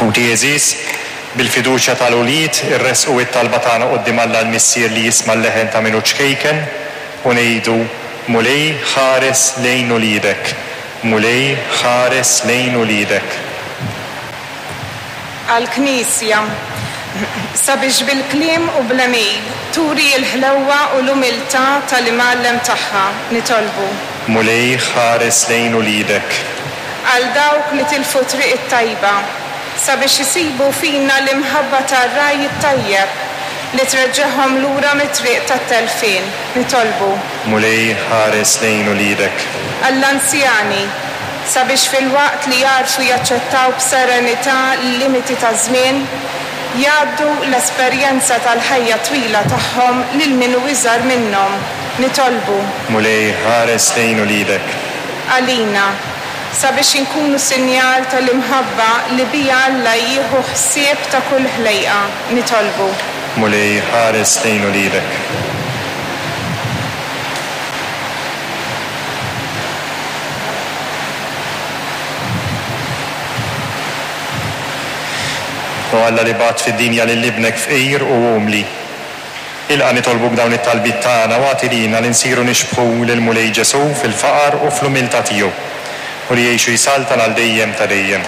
Ħuti għeżież, bil-fiduċja tal-ulied irressqu it-talba tagħna quddiem Alla l-Missier li jisma' l-leħen ta' min hu ċkejken u ngħidu, Mulej ħares lejn uliedek, Mulej ħares lejn uliedek. Għall-Knisja, sabiex bil-kliem u bl-għemil turi l-ħlewwa u l-umiltà tal-Imgħallem tagħha, nitolbu. Mulej ħares lejn uliedek. Għal dawk li tilfu t-triq it-tajba, sabiex isibu fina l-imħabba tar-Ragħaj it-Tajjeb li treġġagħhom lura mit-triq tat-telfien, nitolbu. Mulej ħares lejn uliedek. Għall-anzjani, sabiex filwaqt li jagħrfu jaċċettaw b'serenità l-limiti taż-żmien, jgħaddu l-esperjenza tal-ħajja twila tagħhom lil min hu iżgħar minnhom, nitolbu. Mulej ħares lejn uliedek. Għalina, sabiex inkunu sinjal tal-imħabba li biha Alla jieħu ħsieb ta' kull ħlejqa, nitolbu. Mulej ħares lejn uliedek. O Alla li bgħatt fid-dinja lil Ibnek fqir u umli, ilqa' nitolbuk dawn it-talbiet tagħna u agħti lilna li nsiru nixbħu lill-Mulej Ġesù fil-faqar u fl-umiltà tiegħu, u li jgħix u jsaltan għal dejjem ta' dejjem.